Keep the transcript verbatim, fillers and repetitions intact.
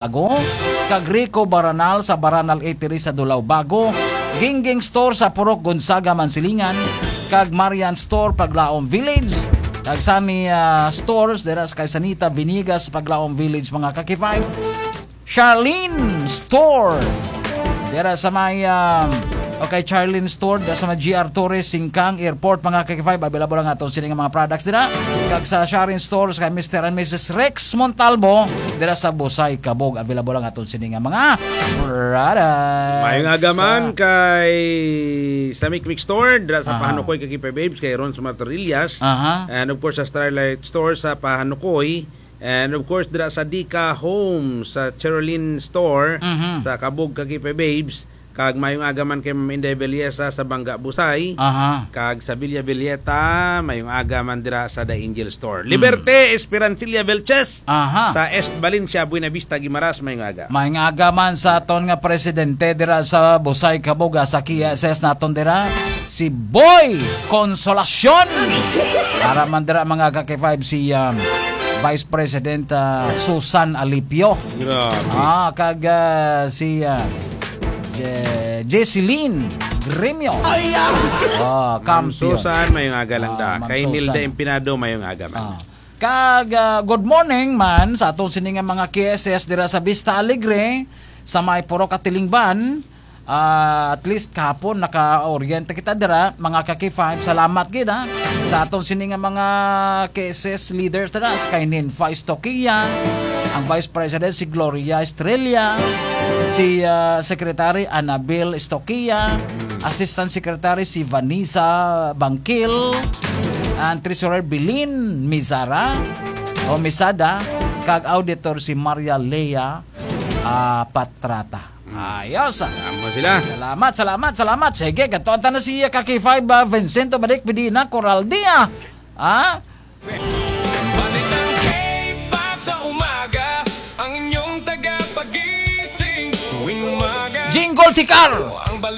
Bago, kag Rico Baranal sa Baranal Eatery sa Dulao Bago, Gingging Store sa Purok Gonzaga, Mansilingan, kag Marian Store, Paglaom Village, kag Sunny, ah, Stores dira sa kay Sanita Vinigas, Paglaom Village, mga ka-K five. Charlene Store dira sa may, ah, okay, Charlene Store dira sa may G R Torres, Singkang Airport, mga ka-K five. Available ang aton sini nga mga products dira. Kag sa Charlene Store sa kay Mister and Missus Rex Montalvo dira sa Busay, Kabog. Available ang aton sini nga mga products. Mayong aga man kay sa Mikmik Store, dira sa Aha. Pahanukoy, kay Kipe Babes, kay Ron sa Matarillas. Aha. And of course, sa Starlight Store sa Pahanukoy. And of course, dira sa Dika Home, sa Cherolyn Store, Mhm. sa Kabog, kay Kipe Babes. Kag mayong aga man kay Ma'am Inday Belleza sa Bangga, Busay. Aha. Kag sa Villa Villeta, mayong aga man dira sa The Angel Store. Mm. Liberte Esperancilla Velches Aha. sa East Valencia, Buena Vista, Guimaras, mayong aga. Mayong aga man sa aton nga presidente dira sa Busay, Kabog, sa K S S naton dira, si Boy Consolacion. Para man dira, mga ka-K five, si, um, Vice President, ah, Susan Alipio. Grabe. Ah, kag, ah, si, ah, Je-, Jesseline Gremio. Ay, ah! Oh, Ma'am kampiyon. Susan, mayong aga lang Ah, da. Ma'am Kay Nilda Susan. Empinado, mayong aga man. Ah. Kag, ah, good morning man sa atong sini nga mga K S S dira sa Vista Alegre, sa may Purok Atilingban. Ah, at least kahapon naka-oriente kita dira, mga ka-K five. Salamat gid, ha, sa atong sini nga mga K S S leaders dira, sa kay Ninfa Estoquia, ang Vice President si Gloria Estrella, si, ah, Secretary Annabel Estoquia, Assistant Secretary si Vanessa Bangkil, ang Treasurer Bilin Mizara o Misada, kag Auditor si Maria Lea, ah, Patrata. Hmm. Ayos, ah. Amo sila. Salamat, salamat, salamat. Sige, katuan ta na si ka-K five, ah, Vincento Malik Medina Coraldia. Ah? Balitang K five sa umaga, ang inyong tagapagising tuwing umaga. Jingle Tikar! Ang